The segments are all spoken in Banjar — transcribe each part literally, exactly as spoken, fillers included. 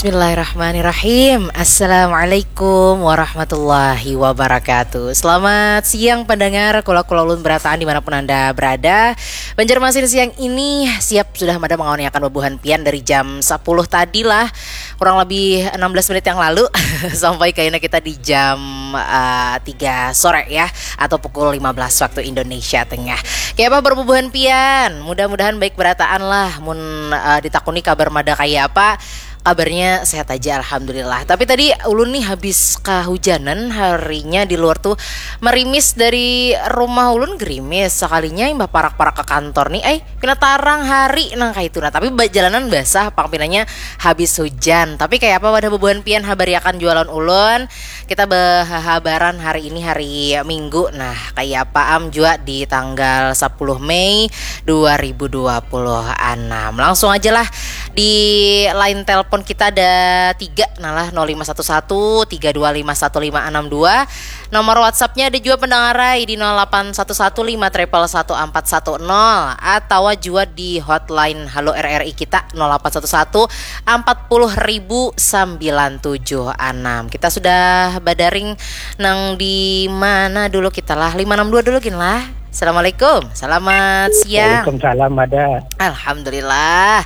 Bismillahirrahmanirrahim. Assalamualaikum warahmatullahi wabarakatuh. Selamat siang pendengar Kula Kula Ulun Berataan dimanapun Anda berada. Banjarmasin siang ini siap sudah mada mengawaniakan bubuhan pian dari jam sepuluh tadi lah. Kurang lebih enam belas menit yang lalu sampai kayaknya kita di jam uh, tiga sore ya, atau pukul lima belas waktu Indonesia Tengah. Kayak apa berbubuhan pian? Mudah-mudahan baik berataan lah. Mun uh, ditakuni kabar mada kayak apa, kabarnya sehat aja, alhamdulillah. Tapi tadi ulun nih habis kehujanan, harinya di luar tuh merimis, dari rumah ulun gerimis, sekalinya imbah parak-parak ke kantor nih, eh pina tarang hari nang kayak itu. Nah, tapi jalanan basah pang pinanya habis hujan. Tapi kayak apa wadah bubuhan pian, habariakan jualan ulun. Kita berhabaran hari ini hari Minggu. Nah, kayak apa am jua di tanggal sepuluh Mei dua ribu dua puluh enam. Langsung aja lah, di line telepon kita ada tiga, nah lah, nol lima satu satu tiga dua lima satu lima enam dua. Nomor WhatsAppnya ada juga pendengarai di nol delapan satu satu lima triple satu empat satu nol, atau juga di hotline Halo R R I kita nol delapan satu satu empat puluh ribu sembilan tujuh enam. Kita sudah badaring nang di mana dulu kita lah? Lima enam dua dulu gin lah. Assalamualaikum. Selamat siang. Waalaikumsalam, ada. Alhamdulillah.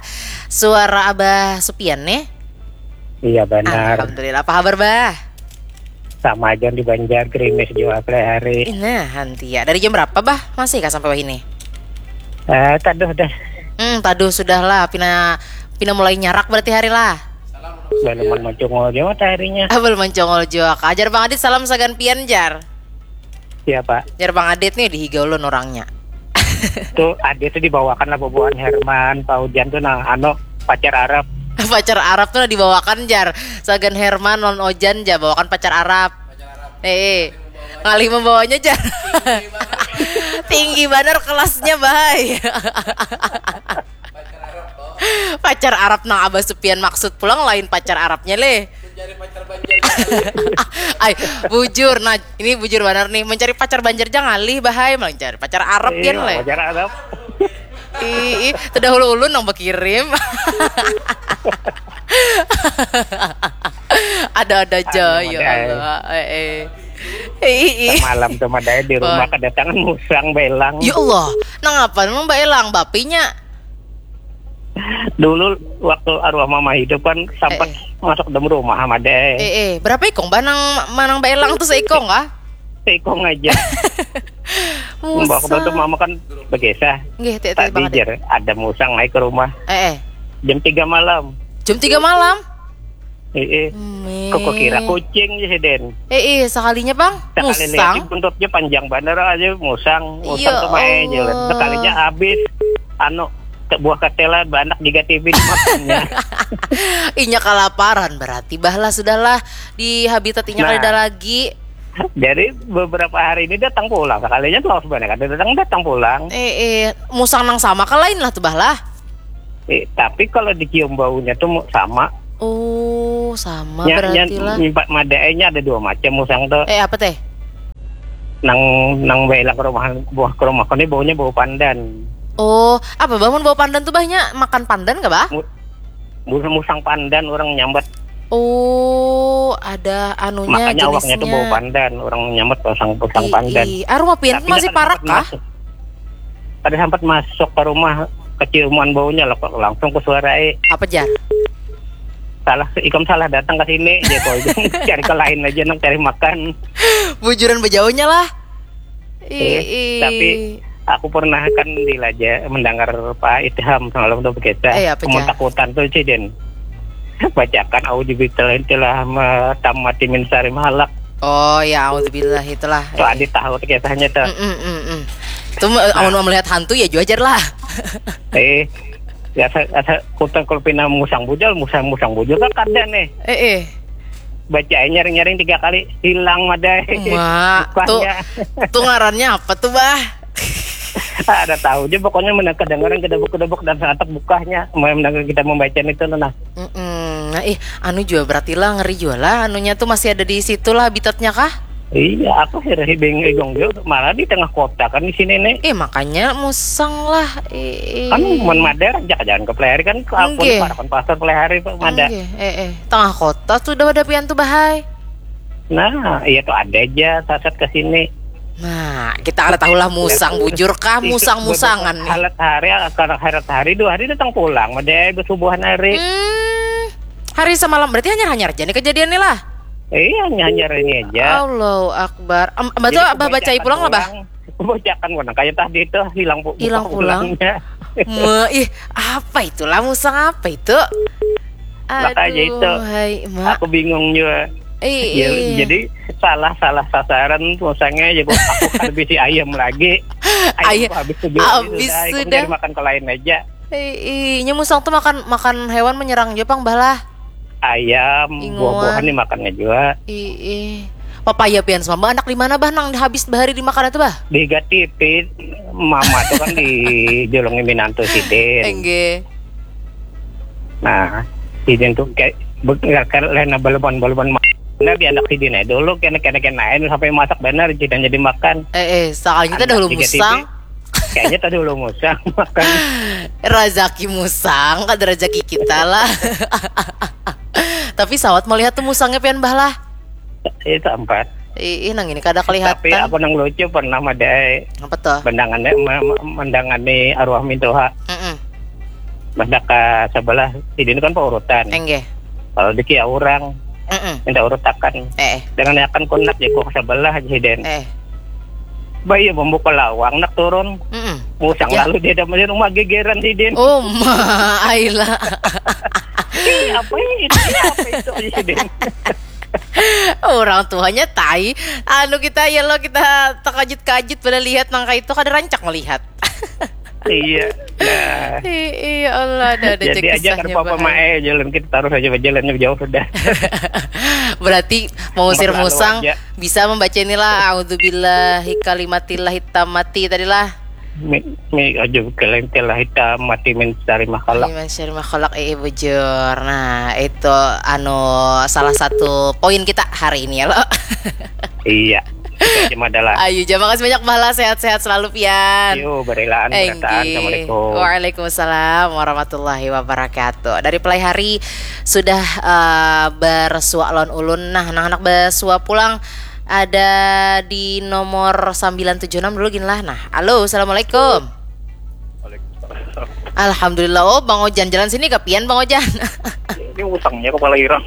Suara Abah Supian nih. Iya, benar. Alhamdulillah. Apa kabar, Bah? Sama aja di Banjar, gerimis juga hari. Nah, hantia. Dari jam berapa, Bah? Masih kah sampai wahini? Eh, taduh dah. Hmm, taduh sudah lah. Pina pina mulai nyarak berarti hari lah. Belum mencungul juga mataharinya. Ah, belum mencungul juga. Ajar Bang Adit salam sagan pian, jar. Siapa? Jar Bang Adit nih, dihiga ulun orangnya. Tuh, Adit tuh dibawakan lah bubuhan Herman, Pak Ujan tuh, nah, anu, pacar Arab. Pacar Arab tuh nah dibawakan, jar. Sagan Herman lawan Ojan, jar, bawakan pacar Arab. Eh, eh. Ngalih membawanya, jar. Tinggi banar kelasnya, bahai. Pacar Arab nang Abah Supian maksud pulang lain pacar Arabnya leh. Mencari pacar Banjar. Ay, bujur, nah, ini bujur banar nih, mencari pacar Banjar jangan ngalih, bahai, mencari pacar Arab pian leh. Pacar Arab. Ih, ih, terdahulu ulun nang berkirim. Ada-ada aja, ya Allah. Eh, eh. Ih, ih. Semalam tuh madai di rumah kedatangan musang belang. Ya Allah, nang apa memang belang bapinya? Dulu waktu arwah mama hidup kan sempat eh, eh. Masuk dalam rumah sama deh. Eh, eh, berapa ikong bah nang manang baelang tuh seikong kah? Seikong aja. Waktu itu mama kan berkisah. Nggih, tadi jar ada musang naik ke rumah. Eh, eh. Jam tiga malam. Jam tiga malam? Iya. Kok kira kucing sih, Den? Eh, eh, sekalinya bang. Sekali musang. Lihat buntutnya panjang banget aja, musang, musang ya tuh main aja. Allah. Sekalinya habis anu buah ketela banyak digatibi dimakannya. Inya kalaparan berarti, bahlah sudahlah di habitat inya nah, kada lagi. Jadi beberapa hari ini datang pulang, sekalinya tuh harus banyak ada datang datang pulang. Eh, eh, musang nang sama ke lain lah tuh, bahlah. Eh, tapi kalau dicium baunya tuh sama. Oh, sama ya, berarti ya, lah. Nyimpat madaenya ada dua macam musang tuh. Eh, apa teh? Nang nang bela ke rumah buah ke rumah kau ini baunya bau pandan. Oh, apa bangun bau pandan tuh bahnya makan pandan gak bah? Mu, musang pandan orang nyambat. Oh, ada anunya. Makanya jenisnya. Awaknya tuh bau pandan, orang nyambat musang musang pandan. Ih, ih. Ah, rumah pian masih parak kah? Masuk. Kada sempat masuk ke rumah keciuman baunya loh, kok langsung ku suarai. Apa jar? Salah, ikam salah datang ke sini aja kok. Cari ke lain aja nang cari makan. Bujuran bejauhnya lah. Eh, tapi aku pernah kan dilaja mendengar Pak Itham semalam tuh berkisah. Eh, apa jar? Takutan tuh sih, Den. Bacakan auzubillahi telah tamati min sari mahalak. Oh ya, auzubillah itulah. Tuh eh. Adi tahu kisahnya tuh. Mm, mm, mm, mm. Tuh nah. Amun melihat hantu ya juajar lah. Eh, biasa asa kutang kalau pina musang bujal, musang musang bujal kan kada nih. Eh, eh. Bacain nyaring-nyaring tiga kali hilang madai. Mak, tuh, tuh ngarannya apa tuh bah? Ada tahu aja pokoknya menang kedengaran kedebuk-kedebuk dan sangat bukahnya menang kita membaca itu nah. Mm-mm. Nah, ih, anu juga berarti lah ngeri juga lah anunya tuh masih ada di situ lah habitatnya kah? Iya, aku sih hibing hidung juga malah di tengah kota kan di sini nih. Eh, makanya musang lah. Eh, eh. Kan mun Mada rancak jalan ke Pelihari kan aku Nggih. Parakan pasar Pelihari Pak Mada. Nggih, eh, eh. Tengah kota tuh udah ada pian tuh bahai. Nah, iya tuh ada aja sasat ke sini. Nah, kita ada tahulah musang bujur kah, musang-musangan nih. Halat hari, kalau halat hari dua hari datang pulang, Mada bersubuhan hari. Hmm, hari semalam berarti hanyar-hanyar aja nih kejadiannya lah. Iya, hanyar ini aja. Allahu Akbar. Em, Abah tuh Jadi, Abah baca kebanyakan pulang lah, Bah? Bacakan pulang. Kayak tadi tuh hilang pu- Hilang buka pulang. pulangnya. Me, ih, apa itulah musang apa itu? Makanya itu. Hai, Mak. Aku bingung juga. Ih, Ya, ih. Jadi salah salah sasaran musangnya aja gua aku kan bisi ayam lagi. Ayam Ayam habis tuh dua hari Habis sudah, ikut sudah. Dari makan ke lain aja. Ih, ih, nya musang tuh makan makan hewan menyerang juga pang bah lah. Ayam, Inguan. Buah-buahan dimakannya juga. Ih, ih. Papaya pian sama Bah, anak di mana Bah nang habis bahari dimakan itu Bah? Di Gatipi, mama tuh kan di Jolong Minantu sidin. Enggak. Nah, sidin tuh kayak benar karena baleban-baleban ma- Nah, di anak sidin aja dulu kena kena kena sampai masak benar sidin jadi makan. Eh, eh, soalnya kita dahulu Tiga musang. Kayaknya kita dahulu musang makan. Razaki musang, kada razaki kita lah. Tapi sawat melihat tuh musangnya pian bah lah. Itu empat. Ih, ih, nang ini kada Tapi kelihatan. Aku nang lucu pernah madai Apa tuh? Mendangannya me- me- Mendangannya arwah mintuha. Mm-mm. Mendak ke sebelah sidin kan paurutan. Enggak. Kalau di kia orang Mm-mm. Minta urutakan. Eh, Dengan akan kunak jago ke sebelah aja sidin. Eh. Bayi membuka lawang nak turun. Mm-mm. Musang Ya. Lalu dia dapat rumah gegeran sidin. Oh ma, aila. Ih, apa ini? Ini apa itu aja sidin? Orang tuanya tai. Anu kita ya lo kita terkajut-kajut pada lihat nangka itu kada rancak melihat. Iya. Nah. Iya Allah ada ada Jadi aja kan apa mae jalan kita taruh aja jalannya jauh sudah. Berarti mengusir Maklum musang aja. Bisa membaca inilah A'udzubillahi kalimatillah hitam mati tadi lah. Mi, mi aja kalian telah hitam mati mencari makhluk. Iman syari makhluk eh bujur. Nah, itu anu salah satu poin kita hari ini ya lo. Iya. Itu aja madalah. Ayu, ja makasih banyak Bala, sehat-sehat selalu pian. Yo, berelaan berataan. Enggih. Assalamualaikum. Waalaikumsalam warahmatullahi wabarakatuh. Dari Pelai Hari sudah eh, bersuak lawan ulun. Nah, anak-anak bersuak pulang ada di nomor sembilan tujuh enam dulu gin lah. Nah, halo, assalamualaikum. Waalaikumsalam. Alhamdulillah. Oh, Bang Ojan jalan sini ke pian Bang Ojan. Ini usangnya kepala irang.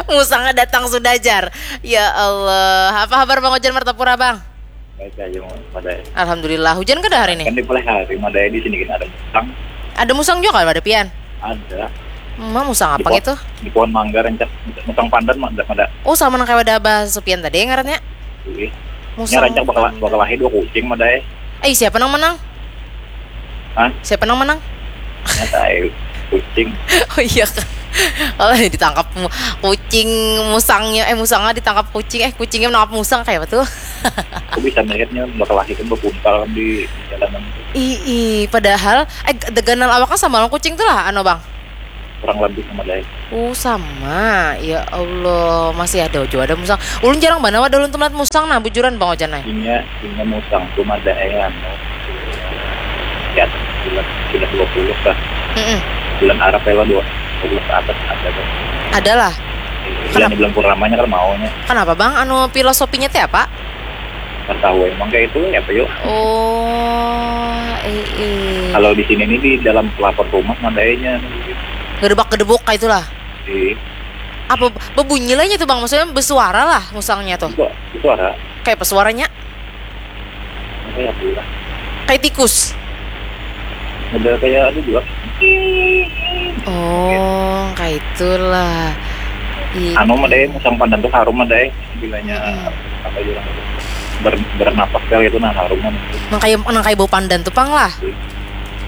Musangnya datang sudah jar. Ya Allah, apa kabar Bang Ojan Martapura Bang? Baik aja mau pada Alhamdulillah, hujan kada hari kan ini? Di Pelai Hari madai di sini kan ada musang. Ada musang juga kan ada pian? Ada. Ma musang Di apa pohon- gitu? Di pohon mangga rancak musang pandan mah ada pada. Oh sama nang kayak ada Abah Supian tadi ngarannya. Ini Musang. rancak bakal bakal lahir dua kucing madai. Eh siapa nang menang? Hah? Siapa nang menang? Nyata eh, kucing. Oh iya kan. Kalau ditangkap mu- kucing musangnya eh musangnya ditangkap kucing eh kucingnya menangkap musang kayak apa tuh? Aku bisa melihatnya bakal lahir kan berpuntal kan di jalanan. Ih, ih, padahal eh ganal awaknya sama lawan kucing tuh lah anu bang. Kurang lebih sama dai. Oh sama, ya Allah masih ada juga ada musang. Ulun jarang banget ada ulun tuh melihat musang nah bujuran bang Ojan ay. Inya inya musang tuh ada eh anu. Ya, bulan sudah dua puluh lah. Mm-mm. Bulan Arab ya lah dua puluh ke atas ada tuh. Ada lah. Bulan bulan purnamanya kan maunya. Kenapa bang? Anu filosofinya teh apa? Kan tahu emang kayak itu ya apa yuk. Oh, eh, eh. Kalau di sini nih di dalam pelapor rumah madainya. Gedebak gedebuk kayak itulah. Di Apa bebunyi lah nya tuh bang? Maksudnya bersuara lah musangnya tuh. Itu suara Kayak apa suaranya? Apa ya bilang? Kayak tikus. Ada kayak ada juga. Oh, kayak itulah. Iya. Anu madai musang pandan tuh harum madai. Bilanya Mm-mm. Apa aja orang itu. Ber, bernapas kayak gitu nah harum kan. Nang kayak nang kayak bau pandan tuh pang lah.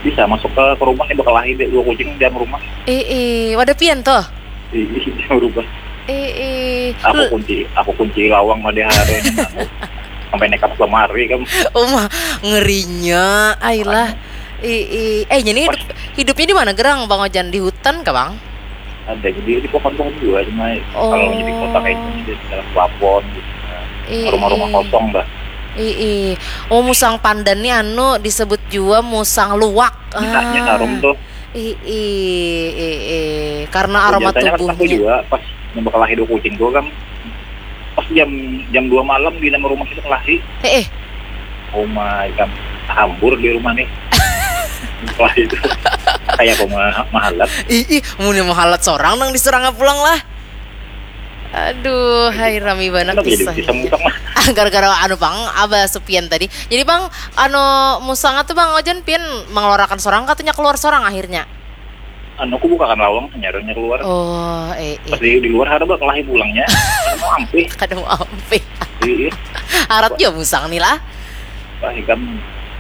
Bisa masuk ke, ke rumah nih bakal lahir deh dua kucing di dalam rumah. Eh, eh, wadah pian tuh. Di, di dalam rumah. Eh, eh. Aku Lu- kunci, aku kunci lawang madai hari ini. Sampai nekat lemari kan. Oh mah ngerinya, ailah. Eh, eh. Eh, jadi hidup, hidupnya di mana gerang Bang Ojan di hutan kah Bang? Ada jadi di pohon-pohon juga, cuma kalau di kota kayak gini di dalam plafon gitu. Nah, Ii. Rumah-rumah kosong dah. Ii. Oh, musang pandan ni anu disebut jua musang luwak. Minahnya Ah. Harum tuh. Ii, ii, ii. Karena aroma Biasanya kan aku tubuhnya. Juga pas nembak lahir kucing tuh kan pas jam jam dua malam di nama rumah itu kelahi. Eh, eh. Oh my god, hambur di rumah nih. Kelahi itu kayak apa ma- mahalat. Ih, ih, mun mahalat sorang nang diseranga pulang lah. Aduh, hai rami banar Kenapa jadi kisahnya. Bisa mutang mah? Gara-gara anu pang abah Supian tadi. Jadi pang anu musang tuh bang ojan pian mengeluarkan sorang katanya keluar sorang akhirnya. Anu aku bukakan lawang nyaranya keluar. Oh, eh, Pas eh. Di, di luar ada bak kelahi pulangnya. Mau ampih. Kada mau ampih. Iya. Harat juga musang nih lah. Wah, ikam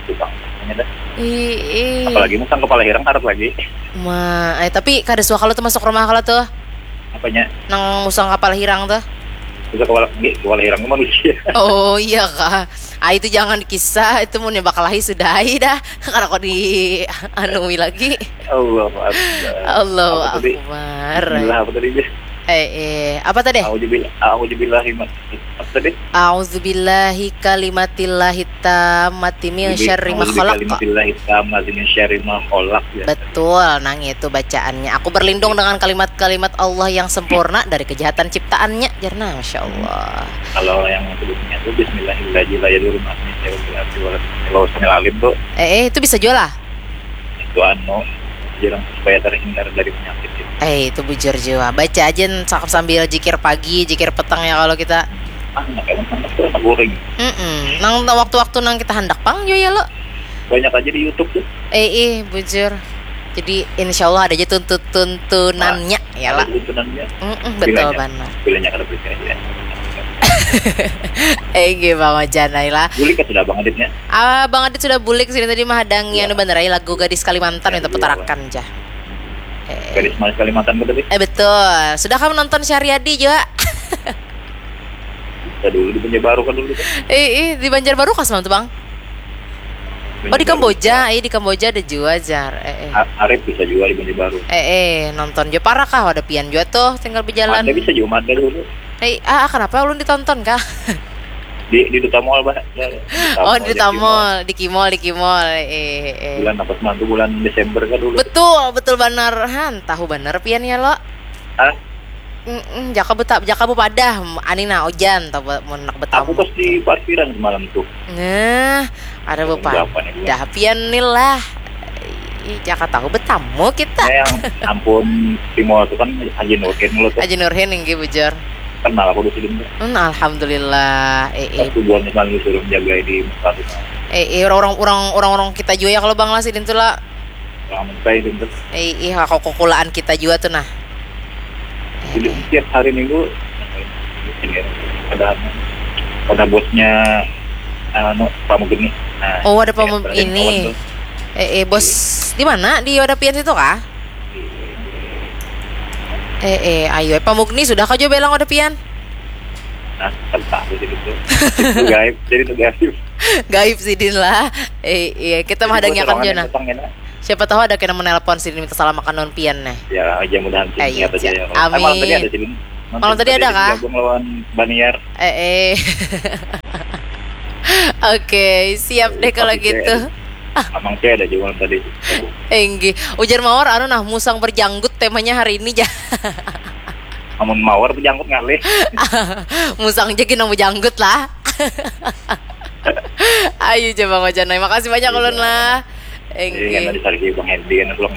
tukang. Ini dah. Ih, ih. Apalagi musang kepala hirang karat lagi. Ma, eh, tapi kada suah kalau tuh masuk rumah kalau tuh. Apanya? Nang musang kapal hirang tuh. Bisa kepala, nggih, kepala hirang itu manusia. Oh iya kah. Ah itu jangan dikisah, itu mun bakalahi sudahi dah. Kada kau di anui lagi. Allah Akbar. Allahu Apa tadi? Akbar. Bismillah apa tadi dia? Eh, eh, apa tadi? Auzubillah, auzubillahi min apa tadi? A'udzubillahi kalimatillahi tammati min syarri ma khalaq. Kalimatillahi tammati min syarri ma khalaq ya. Betul, nang itu bacaannya. Aku berlindung dengan kalimat-kalimat Allah yang sempurna dari kejahatan ciptaannya. Jarna, masya Allah. Kalau yang sebelumnya itu Bismillahirrahmanirrahim. Kalau Bismillahirrahmanirrahim tuh Eh, eh, itu bisa juga lah. Itu anu, jarang supaya terhindar dari penyakit itu. Eh, itu bujur juga. Baca aja cakap sambil jikir pagi, jikir petang ya kalau kita. Ah, nggak emang sama terus goreng. Mm-mm. Nang waktu-waktu nang kita hendak pang juga ya lo. Banyak aja di YouTube tuh. Eh, eh, bujur. Jadi insya Allah ada aja tuntut-tuntunannya ya lah. Tuntunannya. Mm-mm, betul Bilanya. Banget. Bilanya kada berkira ya. Eh, gih Bang Ojan lah. Bulik kan sudah Bang Aditnya. Ah, Bang Adit sudah bulik sini tadi mah hadangi anu bener aja lagu Gadis Kalimantan minta putarakan aja. Eh, Gadis Manis Kalimantan tuh tadi. Eh betul. Sudah kamu nonton Syariadi juga? Kita dulu di Banjarbaru kan dulu tuh. Eh, eh di Banjarbaru kas tuh bang? Oh di Kamboja, eh di Kamboja ada juga jar. Eh, eh. A- Arif bisa juga di Banjarbaru. Eh, eh nonton juga parah kah? Ada pian juga tuh tinggal berjalan. Ada bisa juga ada dulu. Eh, ah kenapa ulun ditonton kah? Di di Duta Mall bah. Oh di Duta Mall, di Kimol, di Kimol. Eh, eh, eh. Bulan apa semangku bulan Desember kan dulu. Betul, betul banar. Han, tahu banar pian ya lo. Ah, Mm-mm, jaka buta, jaka bupadah, ani nah ojan, tau ba- mun nak aku betamu. Pas di parkiran semalam tuh. Nah, ada Jam berapa nih, Bu? bupadah pian nih lah. Ih, jaka tahu betamu kita. Nah, yang ampun di mall tuh kan Haji Nurdin lo tuh. Aja Nurhin yang bujur. Kenal aku di sini tuh. Hmm, alhamdulillah. Eh, eh. Waktu bulan semalam disuruh menjaga di muka tuh. Eh, eh, orang-orang orang orang-orang kita juga ya kalau bang lah sidin tuh lah. Orang mentai itu tuh. Eh, iya kok kukulaan kita juga tuh nah. Jadi setiap hari minggu ini ada ada bosnya anu Pamugeni. Nah, Oh, ada Pamu- ada yang ini. kawan tuh. Eh, eh, bos di mana? Di Oda Pian situ kah? Eh, eh, ayo, eh, Pamugni sudah kau juga bilang Oda Pian? Nah, tentang itu gitu. Itu gaib, jadi itu gaib. Gaib sidin lah. Eh, iya, kita mah ada Jadi, nyakan orang juga yang nah. datang, ya, nah. Siapa tahu ada kena menelpon sidin minta salam makan non Pian nah. Ya, aja mudahan sih Ayo, niat aja ja. Ya. Eh, malam tadi Amin. Ada sih. Malam tadi ada kah? Gabung lawan Baniar. Eh, eh. Oke, siap deh kalau Pasti gitu. Amang saya ada juga malam tadi. Enggih, ujar Mawar anu nah musang berjanggut temanya hari ini ja. Amun mawar berjanggut ngalih. Musang aja gini berjanggut lah. Ayo coba Bang Ojan, makasih banyak ulun lah. Iya, Enggih. Tadi sargi Bang Hendy kan pulang.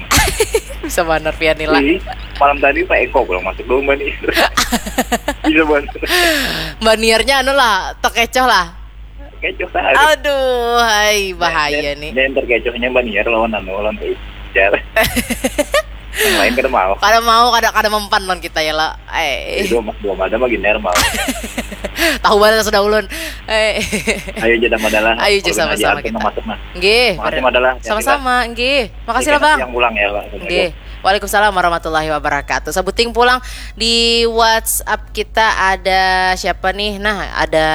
Bisa banar pian lah. Ih, malam tadi Pak Eko pulang masuk dong Bani. Bisa banget. Baniarnya anu lah, terkecoh lah. Kecoh tadi. Aduh, hai bahaya nih. Yang terkecohnya Baniar lawan anu lawan Ijar. Yang lain kada mau. Kada mau, kada kada mempan lawan kita ya lah. Eh, Dua dua mada mah gini mau. Tahu banget sudah ulun. Eh. Ayo aja sama adalah. Ayo aja sama-sama kita. Masuk nah. Nggih, Makasih ber- Madala. Sama-sama, nggih. Makasih lah Bang. Yang pulang ya, Pak. Nggih. Waalaikumsalam warahmatullahi wabarakatuh. Sebuting pulang di WhatsApp kita ada siapa nih? Nah, ada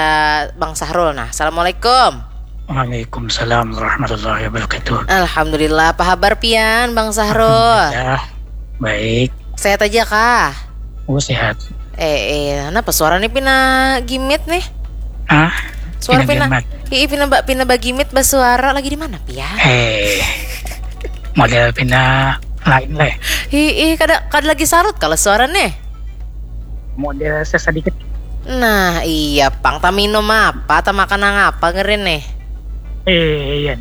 Bang Sahrul. Nah, assalamualaikum. Waalaikumsalam warahmatullahi wabarakatuh. Alhamdulillah, apa kabar pian Bang Sahrul? Ya, baik. Sehat aja kah? Oh, sehat. Eh, eh, kenapa suara nih pina gimit nih? Ah, Suara pina, Pina gamat. Ih, pina ba, pina bagimit basuara lagi di mana, Pian? Eh, model pina lain lah. Ih, ih, kada kada lagi sarut kalau suara nih. Model sesedikit. Nah, iya pang, ta minum apa, ta makan nang apa ngeri nih? Eh, iya.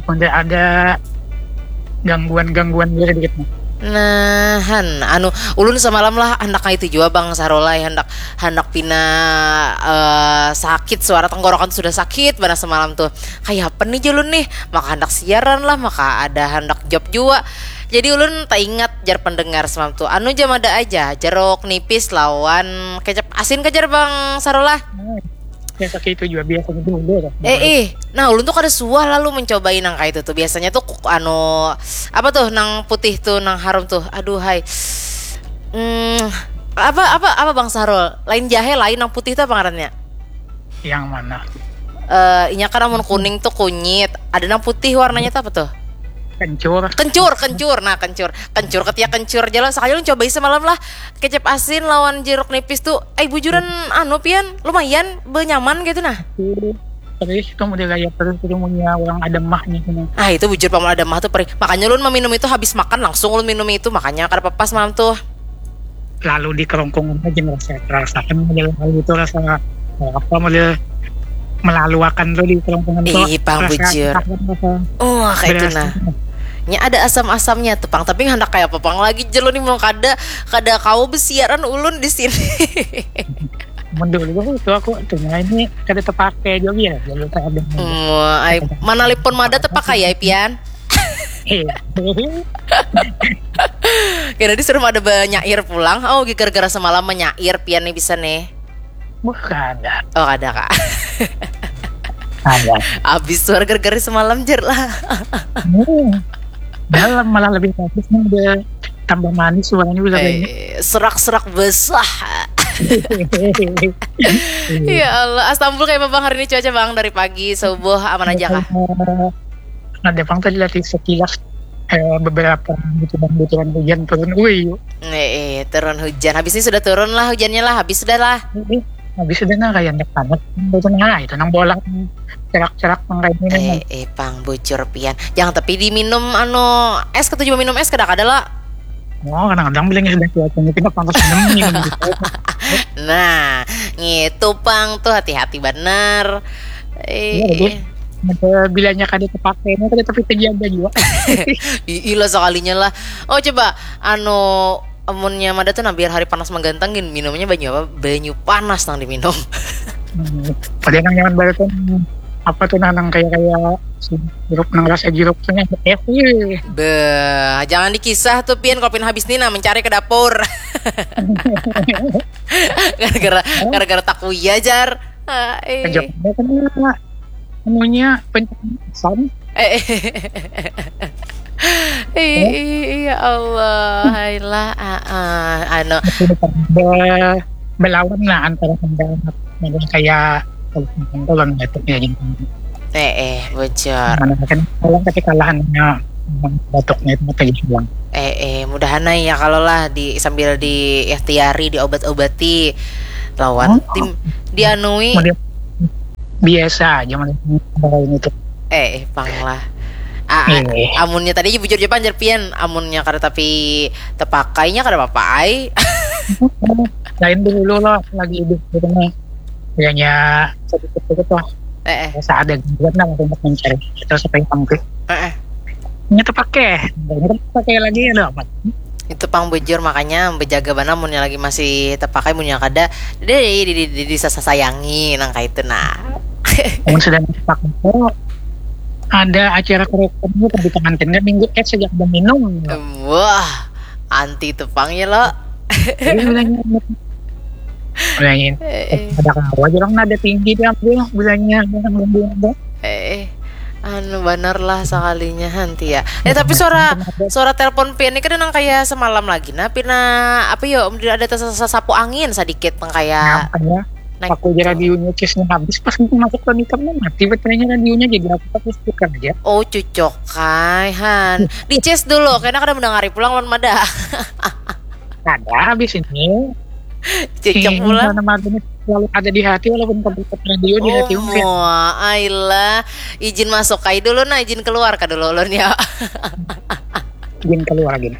Model ada gangguan-gangguan gitu sedikit nih. Nah, han, anu, ulun semalam lah handak kayak itu jua, Bang Sarolai, handak handak pina eh, sakit, suara tenggorokan sudah sakit banget semalam tuh. Kayak apa nih jalun nih? Maka handak siaran lah, maka ada handak job jua. Jadi ulun tak ingat jar pendengar semalam tuh. Anu jam ada aja, jeruk nipis lawan kecap asin, kejar Bang Sarolai. Ya, sakit itu juga biasanya dulu lah. Eh ih, nah ulun tuh kada suah lalu mencobai nang kayak itu tuh. Biasanya tuh kuk- anu apa tuh nang putih tuh nang harum tuh. Aduh hai. Hmm, apa apa apa Bang Sarul? Lain jahe, lain nang putih tuh apa ngarannya? Yang mana? Eh, inya kan amun kuning tuh kunyit, ada nang putih warnanya tuh apa tuh? Kencur. Kencur, kencur, nah kencur, kencur ketiak kencur jalan. Sekali lu cobai semalam lah, kecap asin lawan jeruk nipis tuh, eh bujuran anu Pian, lumayan benyaman gitu nah. Terus itu model kayak terus itu punya orang ada mahnya sini. Ah itu bujur paman ada mah tuh perih. Makanya ulun meminum itu habis makan langsung ulun minum itu, makanya kada apa-apa semalam tuh. Lalu di kerongkongan aja ngerasa, rasakan model lalu itu rasa apa model melaluakan tuh di kerongkongan tuh. Ih, pang Rasa- bujur. Rasa- rasa- Oh, kayak itu Berasa. Nah. Nya ada asam-asamnya tuh pang, tapi hendak kayak apa pang lagi jelo nih mau kada kada kau besiaran ulun di sini. Mun dulu itu aku tuh, nah, ini kada terpakai juga ya, jadi tak ada. Hmm, ai, mana lipon mada terpakai ya Pian? Eh, Kira disuruh ada banyair pulang. Oh, gara-gara semalam menyair Pian nih bisa nih. Bukan, ada. Oh, ada kak. Ada. Abis suara gara-gara semalam jer lah. Hmm. Dalam malah lebih bagus nih, udah tambah manis suaranya udah banyak. Eh, serak-serak besar. Ya Allah, Astambul kayak apa bang hari ini cuaca bang dari pagi subuh aman aja kah? Ada bang tadi lagi sekilas eh, beberapa butiran-butiran hujan turun. Wih, Eh, eh, turun hujan. Habis ini sudah turun lah hujannya lah. Habis sudah lah. Ini habis udah nah kayak anak panas. Itu nah itu nang bola cerak-cerak nang kayak ini. Eh, eh, pang bujur pian. Jangan tapi diminum anu es, ketujuh minum es kada kada lah. Oh, kadang-kadang bilangnya sudah cuacanya tidak panas minum minum gitu. Nah, ngitu pang tuh hati-hati benar. Iya, betul. Eh, Ada bilanya kada terpakai, ini kada tapi terjaga juga. Ih, lah sekalinya lah. Oh coba anu amunnya mada tuh nah biar hari panas menggantang gin minumnya banyu apa? Banyu panas nang diminum. Hmm. Padahal nang nyaman banget kan apa tuh nah nang kayak kayak jeruk nang rasa jeruk tuh nang es. Wih. Beh, jangan dikisah tuh Pian kalau Pian habis nih nah mencari ke dapur. Gara-gara gara-gara takuya jar. Ah, eh. Kejap kan anunya pencernaan. Eh, eh. Ih, ih, ya Allah, hailah, ah, ah, anu, Be- belawan lah antara kendala dengan kayak kalau batuknya gitu. Eh, eh, bocor. Mana kan kalau tapi kalahannya batuknya itu kayak bilang. Eh, eh, mudahan ae ya kalau lah di sambil di ikhtiari, diobat-obati lawan Oh. tim dianui. Model biasa aja model lain itu. Eh, eh, pang lah. Ah, ah, Eh. Amunnya tadi aja bujur aja panjar pian, amunnya kada tapi tepakainya kada apa-apa ai. Lain dulu loh lagi hidup gitu nih. Kayaknya sedikit sedikit lah. Eh, eh. Rasa ada gangguan lah untuk mencari itu supaya tampil. Eh, eh. Ini terpakai, ini terpakai lagi ada apa? Itu pang bujur makanya bejaga banar munnya lagi masih terpakai, munnya kada di di di, di, di, disasayangi nang kaitu nah. Namun sudah terpakai itu ada acara kerokan gitu di pengantinnya minggu eh sejak ada minum. Wah, anti tepang ya lo. Jadi bilangnya bilangin Eh, eh. Ada kawa aja orang nada tinggi dia ambil bilangnya yang ambil ada. Eh, eh. Anu bener lah sekalinya hanti ya. Eh tapi suara suara telepon pian ini kan nang kayak semalam lagi. Nah, pina apa yo? Ada sapu angin sedikit nang kayak Apa ya? naik. Aku aja radionya case habis pas masuk ke nikam mati baterainya radionya jadi aku pakai speaker aja. Oh cucok kai han. Di case dulu karena kada mendengari pulang lawan mada. Ada habis ini. Cicak pulang. Nama ini selalu ada di hati walaupun tempat radio di hati. Oh, ailah. Izin masuk kai dulu nah, izin keluar ka dulu ulun ya. Izin keluar gini.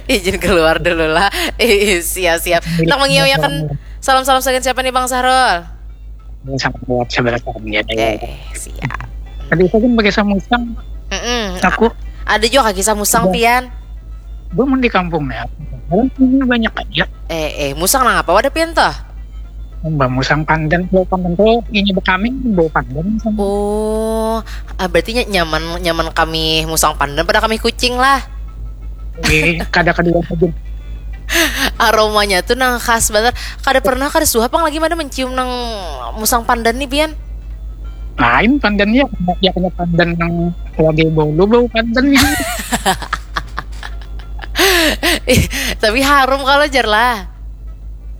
Izin keluar dulu lah. Ih, siap siap. Nak mengiyakan salam-salam sagan siapa nih Bang Sahrul? Ini sangat kuat sebenarnya. Eh, siap. Tadi saya kan pakai samusang. Mm-mm. Aku Ada juga kisah musang Iya. Pian. Gue mau di kampung ya. Orang punya banyak aja. Eh, eh, musang nang apa wadah Pian tuh? Mbak musang pandan, bau pandan tuh ini bekami bau pandan sama. Oh, ah, berarti ny- nyaman nyaman kami musang pandan pada kami kucing lah. Eh, kada kedua aja. Aromanya tuh nang khas banget. Kada pernah kada suah pang lagi mana mencium nang musang pandan nih Pian. Lain pandannya, ya kena pandan yang lagi bau lu bau pandannya. Tapi harum kalau jar lah.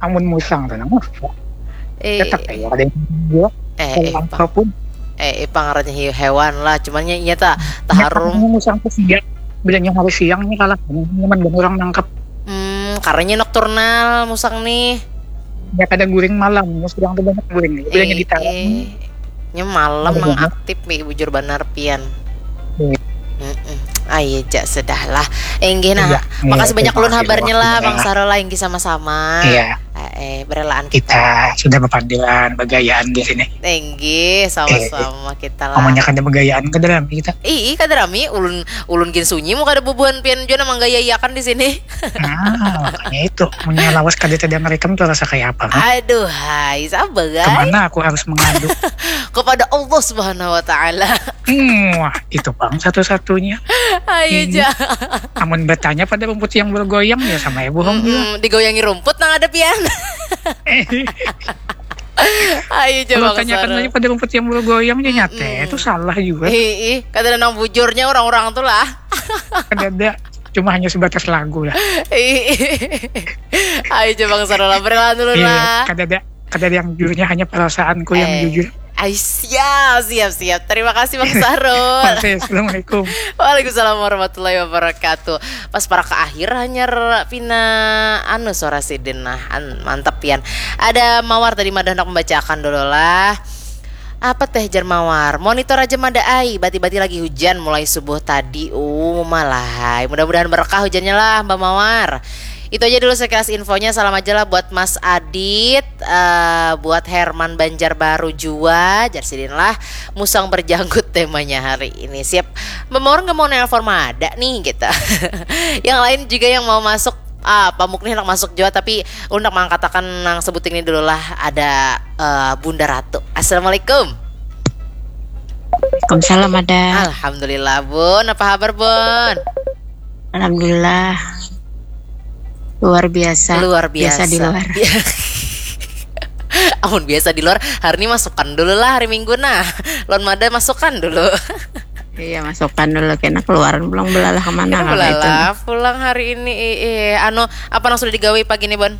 Amun musang tuh nang Eh, tetap ya ada yang jual eh, eh, kalau pang, apapun. eh, eh, pang ngarannya hiu hewan lah. Cuman nya iya tak tak harum. Ini musang tuh siang, bilangnya hari siang nih kalah nyaman banget orang nangkep. Hmm, karena nokturnal musang nih. Ya kada guring malam, musang tuh banyak guring. Bilangnya Eh, di talang. eh. Nya malam Ada nang banyak. Aktif nih bujur banar Pian. Iya. Mm-mm. Ayo ja sudah lah. Enggih nah. Iya, iya, Makasih banyak terima ulun kasih habarnya lah waktunya. Bang Sarul lah enggih sama-sama. Iya, Eh, eh, berelaan kita. kita sudah berpandiran bergayaan di sini. Enggih sama-sama kita lah. Ngomongnya kada bergayaan kada rame kita. Ih, ih, kada rami ulun ulun gin sunyi mu kada bubuhan Pian jua nang manggayaiakan di sini. Nah, makanya itu punya lawas kada tadi merekam tuh rasa kayak apa mah? Aduh, hai, sabar guys. Kemana aku harus mengadu? Kepada Allah Subhanahu wa taala. Hmm, wah, itu bang satu-satunya. Ayo Hmm. ja. Amun bertanya pada rumput yang bergoyang ya sama ya bohong juga. Mm-mm, digoyangi rumput nang ada Pian. Eh, Ayo ja kalau Bang tanyakan Sarul. Lagi pada rumput yang bergoyang ya nyata Mm-mm. Itu salah juga. Ih, ih, kada nang bujurnya orang-orang tuh lah. Kada ada, cuma hanya sebatas lagu lah. Ih, ih. Ayo coba Bang Sarul lah, berkenalan dulu Iya, lah. kada ada, kada ada yang jujurnya hanya perasaanku yang Eh. jujur. Ay, siap, siap, siap. Terima kasih Bang Sarul. Oke, assalamualaikum. Waalaikumsalam warahmatullahi wabarakatuh. Pas para ke akhir hanyar pina anu suara sidin nah. An, mantap Pian. Ada Mawar tadi mada hendak membacakan dulu lah. Apa teh jar Mawar? Monitor aja mada ai, bati-bati lagi hujan mulai subuh tadi. Uh, malah hai. Mudah-mudahan berkah hujannya lah Mbak Mawar. Itu aja dulu sekilas infonya. Salam aja lah buat Mas Adit, eh, buat Herman Banjarbaru jua, jar sidin lah. Musang berjanggut temanya hari ini. Siap. Mbak Mawar nggak mau nelpon mada nih gitu. Yang lain juga yang mau masuk, ah, pamuk nih hendak masuk jua tapi ulun hendak mangkatakan nang sebuting ini dulu lah ada eh, Bunda Ratu. Assalamualaikum. Waalaikumsalam ada. Alhamdulillah Bun, apa kabar Bun? Alhamdulillah. Luar biasa. Luar biasa. Biasa di luar. Amun biasa di luar, hari ini masukkan dulu lah hari Minggu nah. Lon mada masukkan dulu. Iya, masukkan dulu kena keluaran pulang belalah kemana Kita kalau itu. Belalah pulang hari ini. Eh, eh, anu apa nang sudah digawe pagi nih Bon?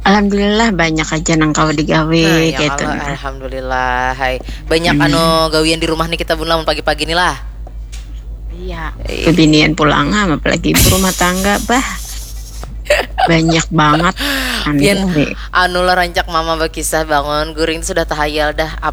Alhamdulillah banyak aja nang kau digawe Nah, ya gitu. Allah, Nah. Alhamdulillah. Hai, banyak Hmm. anu gawian di rumah nih kita Bun lamun pagi-pagi nih lah. Iya. Iya. Kebinian pulang ah, apalagi ibu rumah tangga bah. Banyak banget. Aneh. Pian, anu lah rancak mama berkisah bangun guring itu sudah tahayal dah.